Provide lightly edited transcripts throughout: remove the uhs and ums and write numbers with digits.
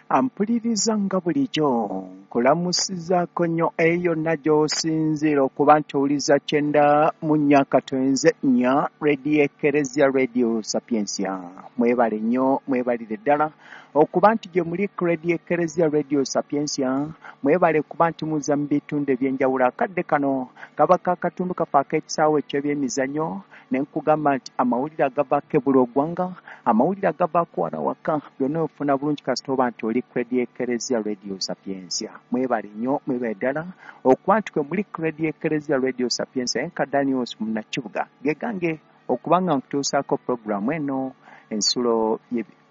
Ampuliriza nga bulijjo nkulamusizaako nnyo eyo yonna gy'osinziira okuba nti owuliza 94.4 Radio Ekereziya Radio Sapientia. Mwebale nnyo, mwebalire ddala okuba nti gye muli ku Radio Ekereziya Radio Sapientia. Mwebale kuba nti muza mu bitundu ebyenjawulo. Akadde kano kaba kakatundu kafe ak'ekisaawe eky'ebyemizannyo, ne nkugamba nti amawulire agavaako ebula oggwanga, amawulire agavaako wano waka, byonna ofuna bulungi kasita oba nti oli ku Radio Ekereziya Radio Sapientia. Mwebale nnyo, mwebale ddala okuba nti kwe muli ku Radio Ekereziya Radio Sapientia. Enka Daniels Munnakibuga gegange okuba nga nkutuusaako puroguramu eno ensulo,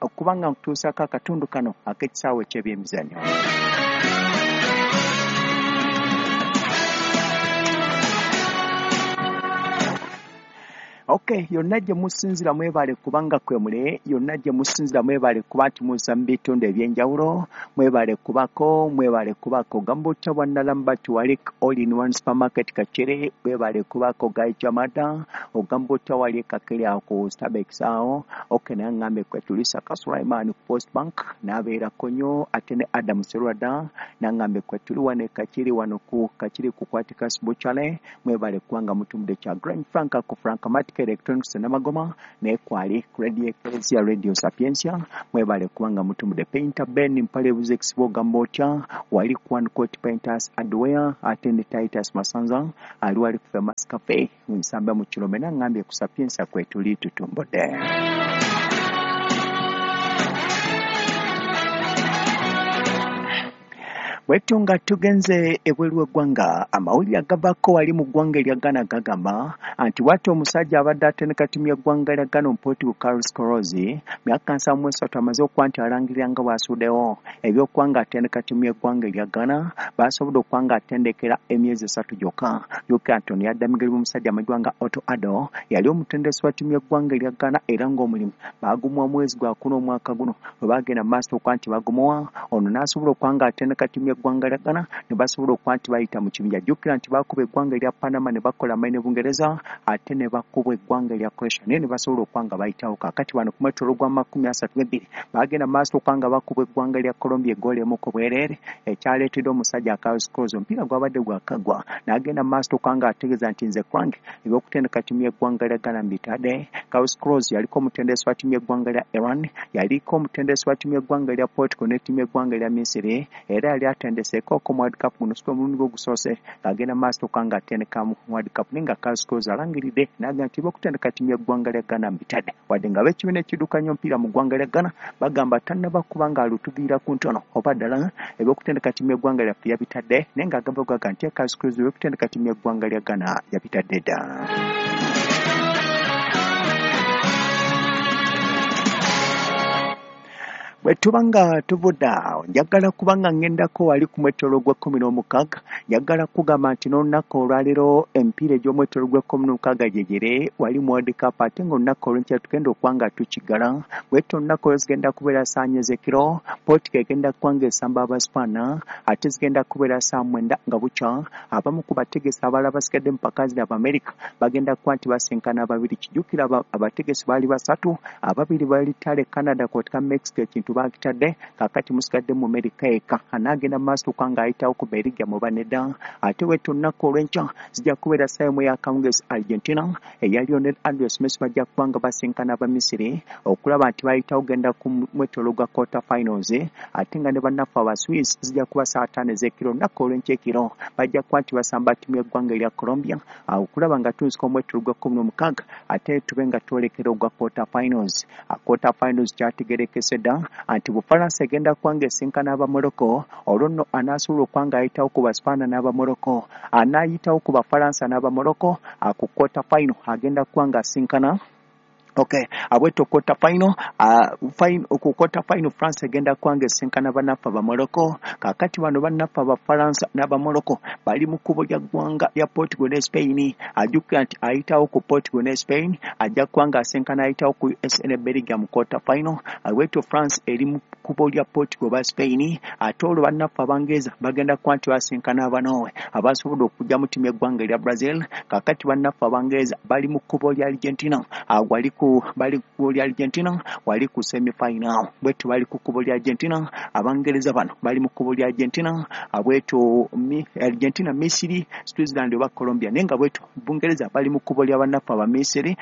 okuba nga nkutuusaako akatundu kano ak'ekisaawe eky'ebyemizannyo. Okay, yonna gye musinzira mwebale kubanga kwe mule, yonna gye musinzira mwebale kuba nti muza mu bitundu ebyenjawulo, mwebale kubako, mwebale kubako Gambuta bwa wali all in one supermarket Kakere, mwebale kubako Gaijamada, Ogambuta wali Kakere ako Starbucks awo. Okay, nangambe kwe tulisa Kasulaiman ku Post Bank, n'abeera konyo ate ne Adam Serwada, nangambe kwe tuli wane Kakiri wano ku Kakiri kukwatika Sbuchale, mwebale kubanga mutumudde kya Grand Frank ku Frank Mat Electronics Namagoma ne kwali Radio Ecclesia Radio Sapientia. Mwebale kubanga mutumudde Painter Ben Mpale Buzex Gambotya wali One Court Painters Hardware ate ne Titus Masanza ali wali ku Famous Cafe nsamba mu Kirome, nangambye ku Sapientia kwe tuli tutumbodde. Bwetyo nga tugenze ebweru w'eggwanga, amawulire agavaako wali mu ggwanga erya Ghana gagamba nti bw'atyo omusajja abadde atendeka ttiimu y'eggwanga lya Ghana Omuportugal Carlos Queiroz, myaka 73, amaze okuba nti alangirira nga bw'asuddewo ebyokuba nga atendeka ttiimu y'eggwanga erya Ghana. Basobodde okuba nga atendekera emyezi 3 gyokka. Jjukira nti ono yadda migeri omusajja amanyiddwa nga Otto Addo, yali omutendesi wa ttiimu y'eggwanga erya Ghana, era ng'omulimu baagumuwa mwezi gwakuna omwaka guno bwe bagenda mu maaso okuba nti bagumuwa, ono n'asobola okuba nga atendeka ttiimu y'eggwanga lya Ghana ne basobola okuba nti bayita mu kibinja. Jjukira nti baakuba eggwanga erya Panama ne bakola amaanyi ne Bungereza, ate ne bakuba eggwanga erya Croatia naye ne basobola okuba nga bayitawo. Kaakati bano ku mwetooloolo gwa 32 baagenda mu maaso okuba nga bakuba eggwanga erya Colombia eggoolo emu ku bwereere, ekyaleetedde omusajja Carlos Queiroz omupiira gwabadde gwakagwa n'agenda mu maaso okuba nga ategeeza nti nze kwange ebyokutendeka ttiimu y'eggwanga lya Ghana mbitadde. Carlos Queiroz yaliko omutendesi wa ttiimu y'eggwanga lya Iran, yaliko omutendesi wa ttiimu y'eggwanga lya Portugal ne ttiimu y'eggwanga lya Misiri, era yali atendeseeko ku World Cup guno si omulundi gwe ogusoose ng'agenda maaso okuba nga atendeka mu World Cup. Naye nga Carlos Queiroz alangiridde n'agamba nti ebyokutendeka ttiimu y'eggwanga lya Ghana mbitadde, wadde nga ab'ekibiina ekiddukanya omupiira mu ggwanga lya Ghana bagamba tannaba kuba ng'alutuviira ku ntono oba ddala ebyokutendeka ttiimu y'eggwanga lyaffe yabitadde, naye ng'agamba gaga nti Carlos Queiroz ebyokutendeka ttiimu y'eggwanga lya Ghana yabitadde dda. Bwe tuba nga tuvudde awo, njagala kuba nga ŋŋendako wali ku mwetooloolo gwa 16. Njagala kugamba nti n'olunaku olwaleero emipiira egy'omwetooloolo gwa 16 gyegere wali mu World Cup, ate ng'olunaku olw'enkya tugenda okuba nga tukigala. Bwetyo olunaku olwo zigenda kubeera saa 4 ez'ekiro, Portugal egenda kuba ng'esamba Abaspaana, ate zigenda kubeera saa 9 nga bukya. Abamu ku bategesi abalala basigadde mu mpaka zino Abamerika bagenda kuba nti basinkana babiri. Kijjukira abategesi baali basatu, ababiri bali Tale Canada kw'oteeka Mexico ekintu bakitadde, kaakati musigadde mu Amerika eka anaagenda mu maaso okuba ng'ayitawo ku Belgium oba nedda. Ate bwetyo olunaku olw'enkya zijja kubeera ssaawa 1 y'akawungeezi, Argentina eya Lionel Andres Messi bajja kuba nga basinkana Abamisiri okulaba nti bayitawo genda ku mwetooloolo gwa quarter finals, ate nga ne bannaffe aba Swiss zijja kuba saa 5 ez'ekiro olunaku olw'enkya ekiro bajja kuba nti basamba ttiimu y'eggwanga erya Colombia okulaba nga tunzika omwetooloolo gwa 16, ate tube nga twolekera ogwa quarter finals. Quarter finals kyategerekese dda nti Bufalansa egenda kuba ng'esinkana Abamorocco, olwo nno anaasobola okuba ng'ayitawo ku Baspaana n'Abamorocco, anaayitawo ku Bafalansa n'Abamorocco ku quarter final agenda kuba ng'asinkana. Okay, abweto quarter final, ku quarter final France egenda kuba ng'esinkana bannaffe Abamorocco. Kaakati bano bannaffe Abafalansa n'Abamorocco bali mu kkubo lya ggwanga lya Portugal ne Spain. Ajjukira nti ayitawo ku Portugal ne Spain ajja kuba ng'asinkana ayitawo ku USA ne Belgium mu quarter final. Abwetyo France eri mu kkubo lya Portugal oba Spain. Ate olwo bannaffe Abangereza bagenda kuba nti basinkana Abanowe abasobodde okujja mu ttiimu y'eggwanga erya Brazil. Kaakati bannaffe Abangereza bali mu kkubo lya Argentina, wali ku bali ku kkubo lya Argentina, wali ku semi final bwetyo bali ku kkubo lya Argentina. Abangereza bano bali mu kkubo lya Argentina bwetyo Argentina, Misiri, Switzerland oba Colombia. Naye nga bwetyo Bungereza bali mu kkubo lya bannaffe Abamisiri,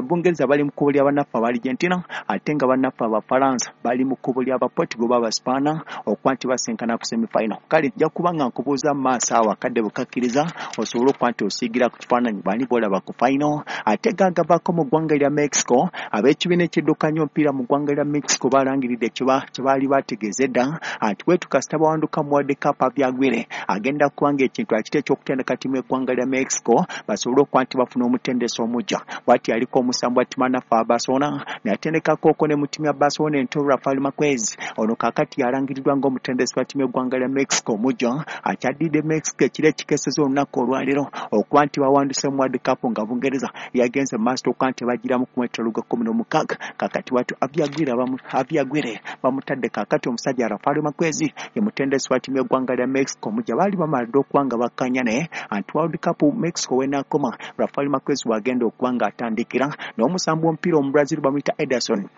Bungereza bali mu kkubo lya bannaffe aba Argentina, ate nga bannaffe Abafalansa bali mu kkubo lya Abaportugal oba Abaspaana okuba nti basinkana ku semi final. Kale nja kuba nga nkubuuza mu maaso awo akadde bwe kakkiriza osobole okuba nti osiigira ku kifaananyi bani b'olaba ku final. Ate gaagavaako mu ggwanga lya Mexico, ab'ekibiina ekiddukanya omupiira mu ggwanga lya Mexico balangiridde kye baali bategeeza edda nti bwetu kasita bawanduka mu World Cup, Javier Aguirre agenda kuba nga ekintu akite eky'okutendeka ttiimu y'eggwanga lya Mexico basobole okuba nti bafuna omutendesi omujja. Bw'ati yaliko omusambi wa ttiimu anaffe aba Barcelona, neyatendekako ne mu ttiimu ya Barcelona ento Rafael Marquez. Ono kaakati yalangiriddwa ng'omutendesi wa ttiimu y'eggwanga lya Mexico omujja akyadidde Mexico ekiro ekikeseza olunaku olwaleero okuba nti bawanduse mu World Cup nga Bungereza yagenze mu maaso okuba nti bagiramu ku mwetolo gwa 16. Kaakati watu Javier Aguirre bamutadde kaakati omusajja Rafael Marquez ye mutendesi wa ttiimu y'eggwanga lya Mexico omujja. Baali bamaladde okuba nga bakkanya naye anti World Cup Mexico wenaakoma Rafael Marquez wagenda okuba nga atandikira. N'omusambi w'omupiira Omubrazil bamuyita Ederson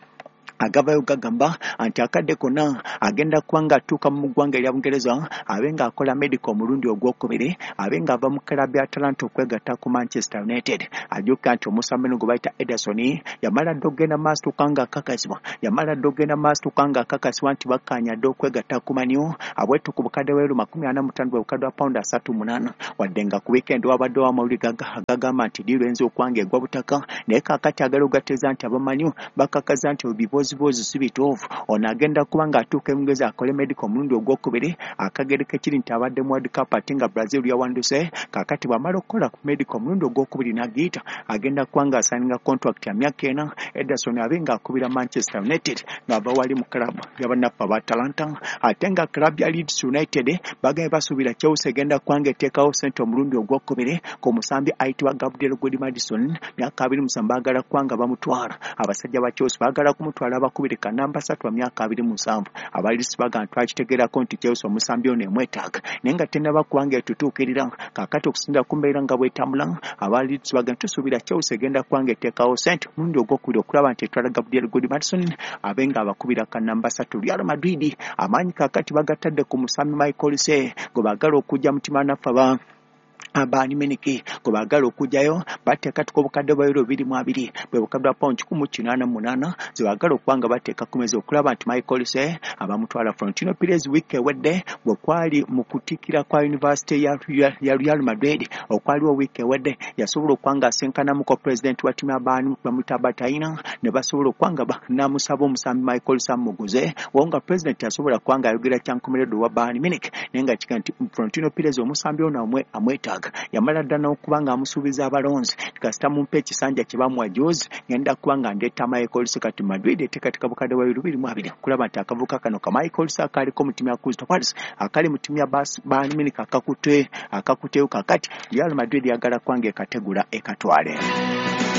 agavayo gagamba nti akadde konna agenda kuba ng'atuuka mu ggwanga erya Bungereza abe ng'akola medical omulundi ogwokubiri abe ng'ava mu club ya Atalanta okwegatta ku Manchester United. Ajjukira nti omusambi ono gwe bayita Ederson yamala dda okugenda maaso tuuka ng'akakasibwa, yamala dda okugenda maaso tuuka ng'akakasibwa nti bakkaanya dda okwegatta ku Man U abwetu ku bukadde bwa euro 45, bwe bukadde bwa pawundi 38. Wadde nga ku weekend wabaddewo amawulire agagamba nti deal eyinza okuba ng'egwa butaka, naye kaakati agala ogateeza nti aba Man U bakakaza nti ebibooziboozi si bituufu. Ono agenda kuba ng'atuuka e Bungereza akole medical omulundi ogwokubiri. Akagere kekiri nti abadde mu World Cup ate nga Brazil yawanduse. Kaakati bw'amala okukola medical omulundi ogwokubiri n'agiyita, agenda kuba ng'asayininga contract ya myaka 4 Ederson abe ng'akubira Manchester United ng'ava wali mu club y'abannaffe aba Atalanta. Ate nga club ya Leeds United bagambye basuubira Chelsea egenda kuba ng'eteekawo ssente omulundi ogwokubiri ku musambi ayitibwa Gabriel Gudmundsson, myaka 27. Baagala kuba nga bamutwala. Abasajja ba Chelsea baagala kumutwala abakubiri ka namba 3 wa myaka 27. Aba Leeds bagamba twakitegeerako nti Chelsea omusambi ono emwetaaga, naye nga tennaba kuba nga etutuukirira. Kaakati okusinziira ku mbeera nga bwetambula, aba Leeds bagamba tusuubira Chelsea egenda kuba nga eteekawo ssente omulundi ogwokubiri okulaba nti etwala Gabriel Gudmundsson abe nga abakubira ka namba 3. Real Madrid amaanyi kaakati bagatadde ku musambi Michael Olise gwe baagala okujja mu ttiimu naffe aba Bayern Munich gwe baagala okugyayo. Bateekatuka obukadde bwa euro 20, bwe bukadde bwa pawundi 188 ze baagala okuba nga bateeka ku meza okulaba nti Michael Olise abamutwala. Florentino Perez wiiki ewedde bwe kwali mu kutikkira kwa University ya Real Madrid okwaliwo wiiki ewedde, yasobola okuba nga asinkanamuko president wa ttiimu ya Bayern bamuyita Bataina, ne basobola okuba nga namusaba omusambi Michael Olise amuguze wo, nga president asobola kuba nga ayogera kyankomeredde owa Bayern Munich. Naye nga kiga nti Florentino Perez omusambi ono amwetaaga, yamala dda n'okuba nga amusuubiza abalonzi, kasita mumpa ekisanja kye bamuwa juzi ngenda kuba nga ndeeta Michael Olise. Kati Madrid eteekateeka bukadde bwa euro 22 okulaba nti akavuka kano ka Michael Olise akaliko mu ttiimu ya Crystal Palace, akali mu ttiimu ya Bayern Munich, akakuteyo. Kakati Real Madrid yagala kuba nga ekategula ekatwale.